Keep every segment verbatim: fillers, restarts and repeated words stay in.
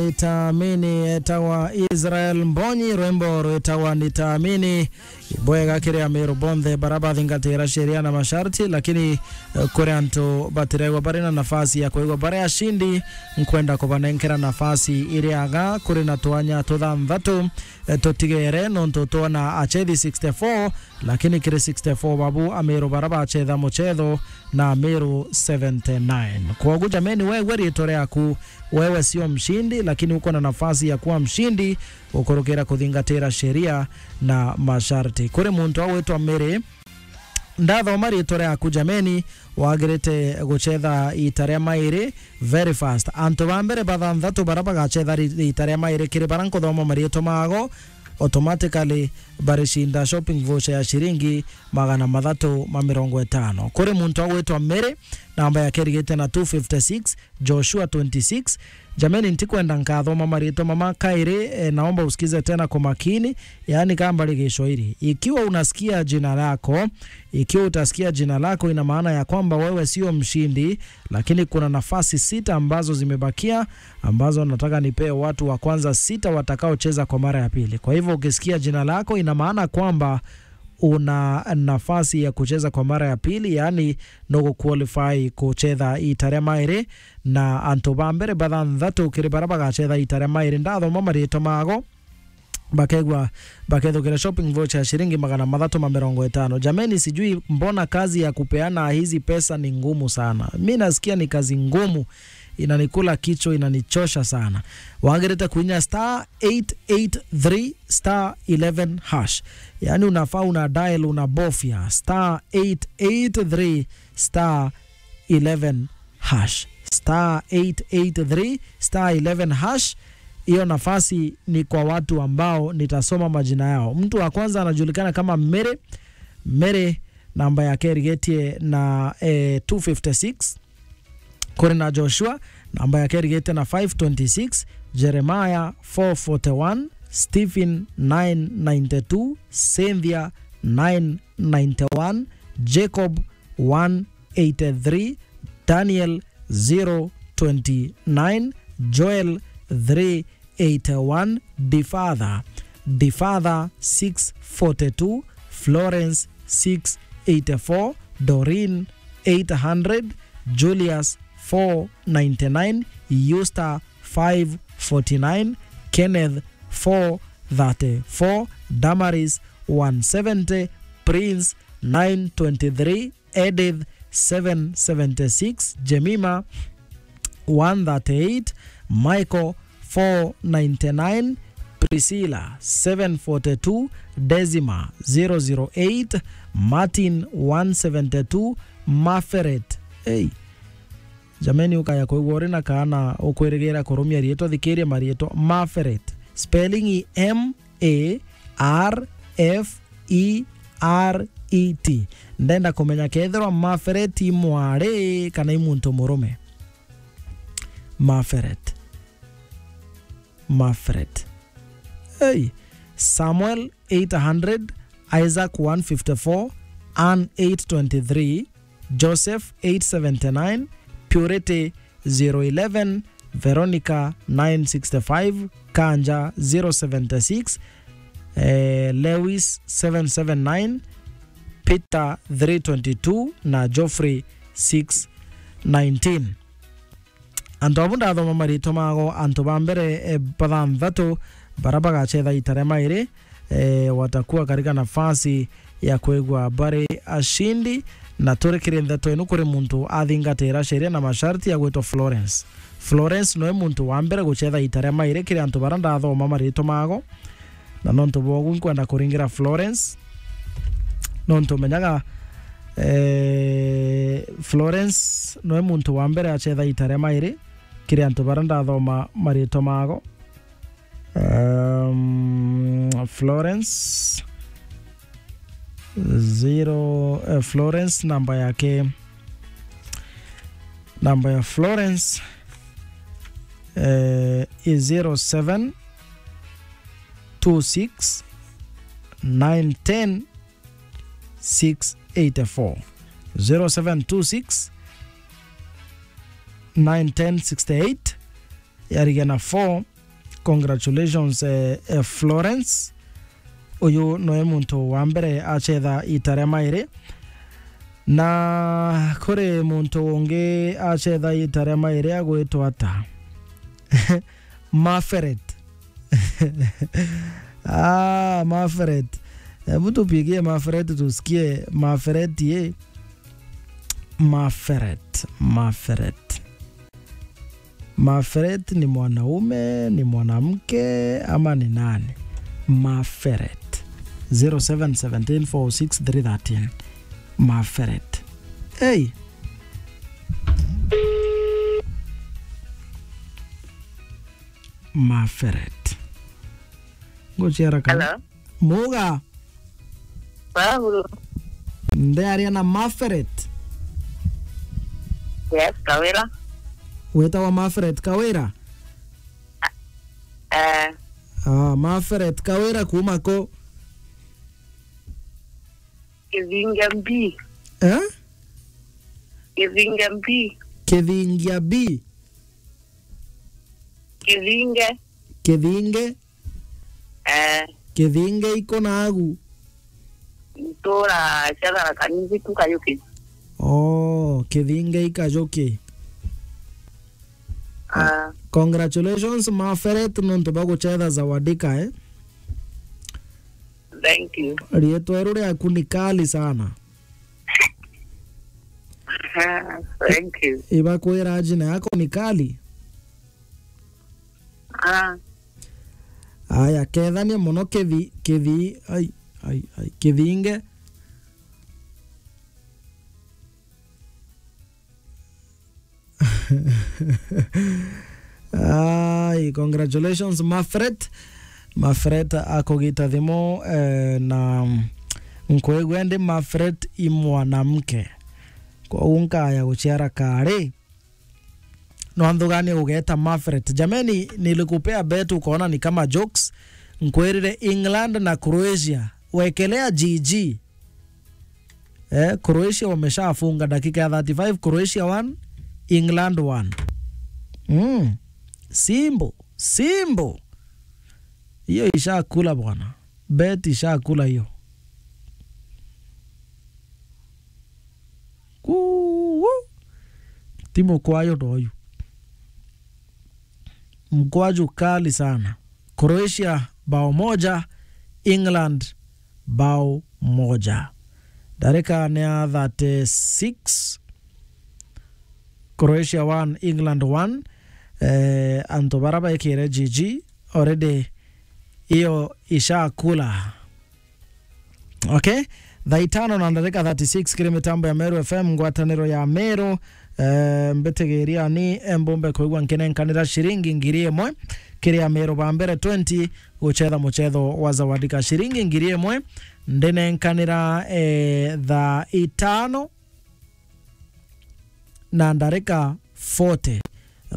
Nitaamini, etagwa Israel Mbonyi, rwimbo rwitagwa Nitaamini. Ibwega kiri Amiru bonthe bara bathingatira sheria na masharti, lakini, eh, kuri antu batiregwa bari na nafasi ya kwigwa bari ashindi, nkwenda kubanenkera nafasi iri aga kuri na twanya tuthanthatu, eh, tutigere, nontu twona achethi sixty-four, lakini kiri sixty-four babu Amiru bara bachetha muchetho na Amiru seventy-nine. Kwogu jameni, wewe riitwa riaku, wewe sio mshindi, lakini uko na nafasi ya kuwa mshindi ukurukira kuthingatira sheria na masharti. Kuri muntu agwitwa Mary, ndathoma riitwa riaku jameni, wagirite guchetha ita ria mairi very fast. Antu ba mbere bathanthatu bara bagachetha ri-, ita ria mairi kiri bara nkuthoma mariitwa mago, automatically baricinda shopping voucher ya shiringi magana mathatu ma mirongo itano. Kuri muntu agwitwa Mary, namba yake irigite na two fifty-six, Joshua twenty-six. Jameni, ntikwenda nkathoma mariitwa mama kairi, eh, naomba usikize tena kwa makini, yaani kama bari Gicwairi. Ikiwa unasikia jina lako, ikiwa utasikia jina lako, ina maana ya kwamba wewe sio mshindi, lakini kuna nafasi sita ambazo zimebakia, ambazo nataka nipee watu wa kwanza sita watakaocheza kwa mara ya pili. Kwa hivyo ukisikia jina lako, ina maana kwamba una nafasi ya kucheza kwa mara ya pili, yaani no qualify kuchetha ita ria mairi, na antu ba mbere bathanthatu kiri bara bagachetha ita ria mairi. Ndathoma mariitwa mago, bakegwa, bakethukira shopping voucher ya shiringi magana mathatu ma mirongo itano. Jameni, sijui mbona kazi ya kupeana hizi pesa ni ngumu sana. Mi nasikia ni kazi ngumu, inanikula kichwa, inanichosha sana. Wagirite kuinya star eight eight three star eleven hash. Yaani unafaa una dial, unabofya star eight eight three star eleven hash. Star eight eight three star eleven hash. Hiyo nafasi ni kwa watu ambao nitasoma majina yao. Mtu wa kwanza anajulikana kama Mary. Mary, namba yake irigetie na, eh, two fifty-six. Kuri na Joshua, namba yake irigite na five twenty-six, Jeremiah four forty-one, Stephen nine ninety-two, Cynthia nine ninety-one, Jacob one eighty-three, Daniel zero twenty-nine, Joel three eighty-one, Difatha, Difatha six forty-two, Florence six eighty-four, Doreen eight hundred, Julius four ninety-nine, Eusta five forty-nine, Kenneth four thirty-four, Damaris one seventy, Prince nine twenty-three, Edith seven seventy-six, Jemima one thirty-eight, Michael four ninety-nine, Priscilla seven forty-two, Decima zero zero eight, Martin one seventy-two, Maferet. Hey. Jameni, ukaya kwigua uri na kaana ukwirigira kurumia riitwa, thikiria mariitwa. Maferet. Spelling i M A R F E R E T. Ndenda kumenya kethirwa Maferet i mwari kana i muntu murume. Maferet. Maferet. Hey. Samuel eight hundred, Isaac one fifty-four, Anne eight twenty-three, Joseph eight seventy-nine, Purity zero eleven, Veronica nine sixty-five, Kanja zero seventy-six, eh, Lewis seven seven nine, Peter three twenty-two na Geoffrey six nineteen. Antu abu ndathoma maritwa mago, antu ba mbere, eh, bathanthatu bara bagacetha ita ria mairi, eh, watakuwa katika nafasi ya kwigua bari ashindi, na turi kiri ntheto inu kuri muntu athingatira sheria na masharti ya gwitwa Florence. Florence noe muntu wa mbere gucetha ita ria mairi kiri antu bara ndathoma maritwa mago, na nontu bwogu nkwenda kuringira Florence, nontu menyaga, eh, Florence noe muntu wa mbere acetha ita ria mairi kiri antu bara ndathoma maritwa mago. Um, Florence zero, eh, Florence namba yake, namba ya Florence, eh, i zero seven two six nine ten six eight four. Zero seven two six nine ten sixty eight, yarigana four. Congratulations, eh, eh, Florence. Uyu noe muntu wa mbere achetha ita ria mairi. Na kuri muntu ungi achetha ita ria mairi agwitwa ata? Maferet. Ah, Maferet. Hebu tupigie Maferet tusikie. Maferet ye. Maferet, Maferet. Maferet ni mwanaume, ni mwanamke, ama ni nani? Maferet. Zero seven seventeen four six three thirteen. Maferet. Hey! Maferet. Ngochera kana. Hello? Muga. Paulo. Ndearia na Maferet. Yes, Kawira. Witawa Maferet Kawira? Eh. Ah, Maferet Kawira kuma ko? Kithinge B. Eh? Kithinge B. Kithingia B. Kithinge. Kithinge. Eh. Kithinge iko nagu. Ntura cia Tharaka Nithi ku Kayuki. Oh, Kithinge i Kayuki. Ah. Congratulations, Maferet, nontu bwa guchetha Zawadika, eh? Thank you. Rietwa riu riaku ni kali sana. Ah, thank you. Ibakwira jina yako ni kali? Ah. Aya, kethania mono kithi, kithi, ai, ai, ai, kithinge. Ai, congratulations, Mafret. Mafret akugita thimu, eh, na nkwigua ndi Mafret i mwanamke. Kwou nkaya guciara kari. Nwanthugania ugeta Mafret. Jameni, nilikupea bet ukaona ni kama jokes. Nkwirire England na Croatia. Wekelea G G. Eh, Croatia wameshafunga dakika ya thirty-five, Croatia one, England one. Mm. Simple, simple. Hiyo ishakula bwana. Bet ishakula hiyo. Kuu. Timu kwayo ndo yu. Mkwaju kali sana. Croatia bao moja, England bao moja. Ndarika ni ya thirty-six. Croatia one, England one. Eh, antu bara baikire G G already, iyo ishakula. Okay? Thaa itano na ndarika thirty-six kiri mitambo ya Meru F M, ngwataniro ya Meru. Eh, mbitigiria ni, eh, mbumbe kwigua nkinenkanira ciringi ngiri imwe kiri Ameru ba mbere twenty guchetha muchetho wa Zawadika. Ciringi ngiri imwe ndinenkanira, eh, thaa itano na ndarika forty.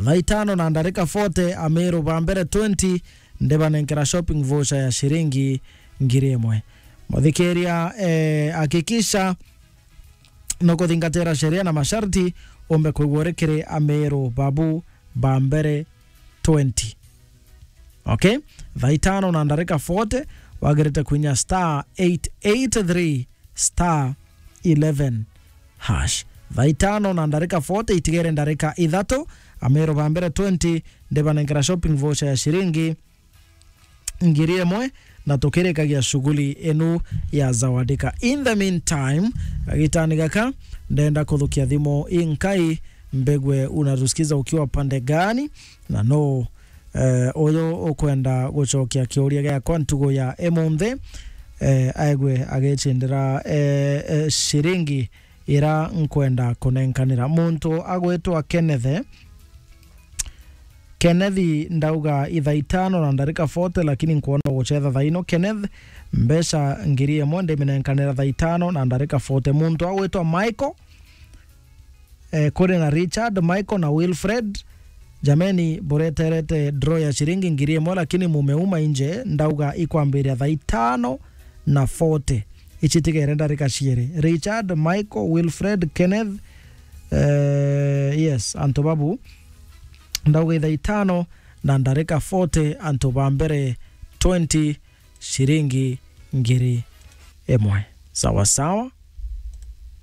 Thaa itano na ndarika forty, Ameru ba mbere twenty ndibanenkera shopping voucher ya ciringi ngiri imwe. Muthikiria, eh, hakikisha nukuthingatira sheria na masharti umbe kwigua uri kiri Ameru babu ba mbere twenty. Okay? Thaa itano na ndarika forty, wagirite kwinya star eight eight three star eleven hash. Thaa itano na ndarika forty, itigere ndarika ithatu, Ameru ba mbere twenty ndibanenkera shopping voucher ya ciringi ngiri imwe, na tukirikagia shughuli inu ya Zawadika. In the meantime, gagitani gaka, ndenda kuthukia thimu inkai, mbegue unatusikiza ukiwa pande gani, na no, eh, uyu ukwenda gucokia kiuria giakwa ntugu ya imunthi, eh, aigwe agicindira, eh, eh, ciringi ira nkwenda kunenkanira. Muntu agwitwa Kenneth, Kenneth, ndauga ithaa itano na ndarika forty, lakini nkwona gucetha thaa ino. Kenneth, mbeca ngiri imwe ndiminenkanira thaa itano na ndarika forty. Muntu agwitwa Michael, eh, kuri na Richard, Michael na Wilfred. Jameni, bureterete draw ya ciringi ngiri imwe, lakini mumeuma inje, ndauga ikwambiria thaa itano na forty. Ici tigere ndarika ciiri. Richard, Michael, Wilfred, Kenneth, eh, yes, antu babu. Ndauga ithaa itano na ndarika forty, antu ba mbere twenty, ciringi ngiri imwe. Sawa sawa.